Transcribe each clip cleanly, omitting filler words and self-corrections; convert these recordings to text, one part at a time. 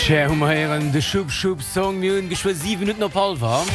Cher hu mer héieren de Shoop Shoop Song. Mir hunn geschwë 7 Minutten op hallwer.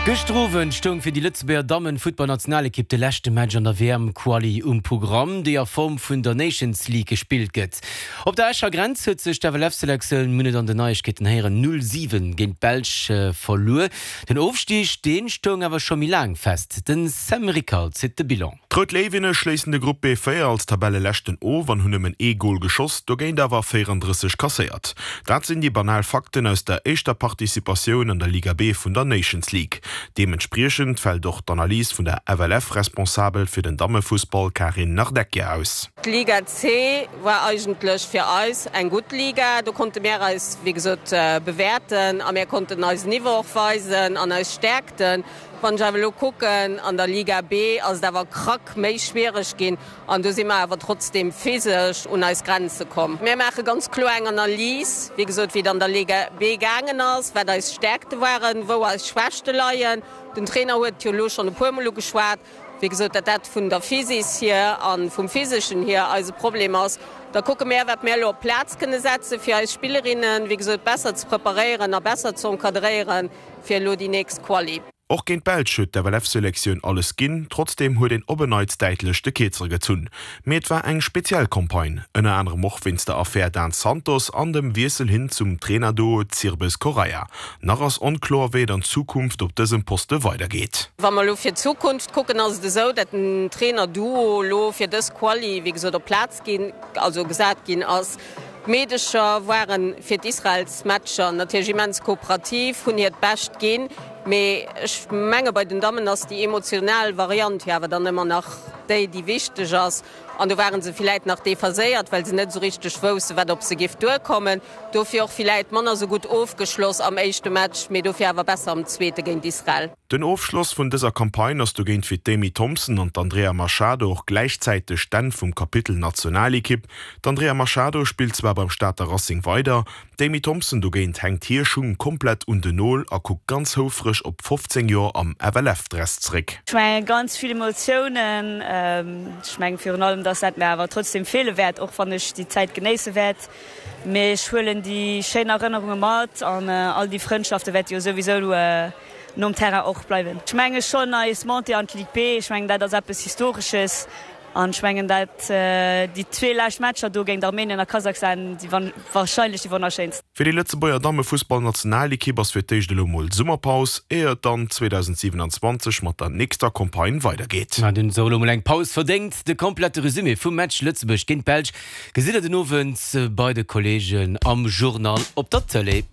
Gëschter Owend stoung fir déi Lëtzebuerger Dammen-Futtballnationalekipp de leschte Match an der WM-Quali um Programm, déi a Form vun der Nations League gespillt gëtt. Op der Escher Grenz huet sech d'FLF-Selektioun, mir hunn et an den Neiegkeeten héieren, 0, 7 géint d'Belsch verluer. Den Ofstig, dee stoung awer scho méi laang fest. Den Sam Rickal zitt de Bilan. D'Rout Léiwinne schléissen de Grupp B4 als Tabelleleschten of an hunn nëmmen ee Gol geschoss, dogéint awer 34 kasséiert. Dat sinn déi banal Fakten aus der éischter Participatioun an der Liga B vun der Nations League. Deementspriechend fält och d'Analys vun der FLF-Responsabel fir den Dammefussball Karin Nardecchia aus. D'Liga C war eigentlech fir eis eng gutt Liga. Do konnte mär eis wéi gesot bewäerten a mär konnten eisen Niveau och weisen an eis Stäerkten. Wann ech awer elo kucken, an der Liga B ass et awer krack méi schwiereg ginn an do si mer awer trotzdeem physesch un eis Grenze komm. Mir maache ganz kloer eng Analys, wéi gesot, wéi et an der Liga B gaangen ass, wat eis Stäerkte waren, wou eis Schwächte leien. Den Trainer huet et jo elo schonn e puermol ugeschwat, wéi gesot, datt dat vun der Physis hier a vum Physeschen hier eise Problem ass. Da kucke mär, wat mär elo op d'Plaz kënne setzen, fir eis Spillerinnen, wéi gesot, besser ze preparéieren a besser ze encadréieren. fir elo déi nächst Quali. Och géint d'Belsch huet d'FLF-Selektioun alles ginn, trotzdeem huet een op en Neits däitlech de Kierzere gezunn. Mee et war eng speziell Campagne, ënner anerem och wéinst der Affär Dan Santos an dem Wiessel hin zum Trainer-Duo Zirbes-Correia. Nach ass onkloer, wéi et an Zukunft op dësem Poste weidergeet. Wa mer elo fir d'Zukunft kucken, ass et esou, datt den Trainer-Duo elo fir dës Quali, wéi gesot, op d'Plaz ginn, also gesat ginn ass. D'Meedecher waren fir d'Israelsmatcher natierlech immens kooperativ, hunn hiert Bescht ginn, mee ech menge bei den Dammen ass déi emotional Variant jo awer dann ëmmer nach déi, déi wichteg ass. An do ware se villäit nach dephaséiert, well se net esou richteg wousse wat op se giff duerkommen. Dofir och villäit manner esou gutt ofgeschloss am éischte Match, mee dofir awer besser am zweete géint Israel. Den Ofschloss vun dëser Campagne ass dogéint fir d'Amy Thompson an d'Andrea Machado och gläichzäiteg d'Enn vum Kapitel Nationalekipp. D'Andrea Machado spillt zwar beim Stater Racing weider, d'Amy Thompson dogéint hänkt hir Schung komplett un den Nol a kuckt ganz houfreg op 15 Joer am FLF-Dress zréck. Ech mengen ganz vill Emotiounen. Ech mengen virun allem, dass dat mir awer trotzdem feele wäert, och wann ech déi Zäit genéisse wäert. Mee ech huelen déi schéin Erënnerunge mat an all déi Frëndschafte wäerte jo souwisou nom Terrain och bleiwen. Ech menge schonn eis Montée an d'Ligue B, ech mengen dat ass eppes Historesches an ech mengen dat déi zwee lescht Matcher do géint Armenien a Kasachstan si warscheinlech déi wonnerschéinst. Fir déi Lëtzebuerger Dammefussballnationalekipp ass fir d'éischt elo mol Summerpaus, éier et dann 2027 mat der nächster Campagne weidergeet. An hunn se och elo mol eng Paus verdéngt. De komplette Resumé vum Match Lëtzebuerg géint d'Belsch gesitt der den Owend bei de Kolleegen am Journal op der Tëlee.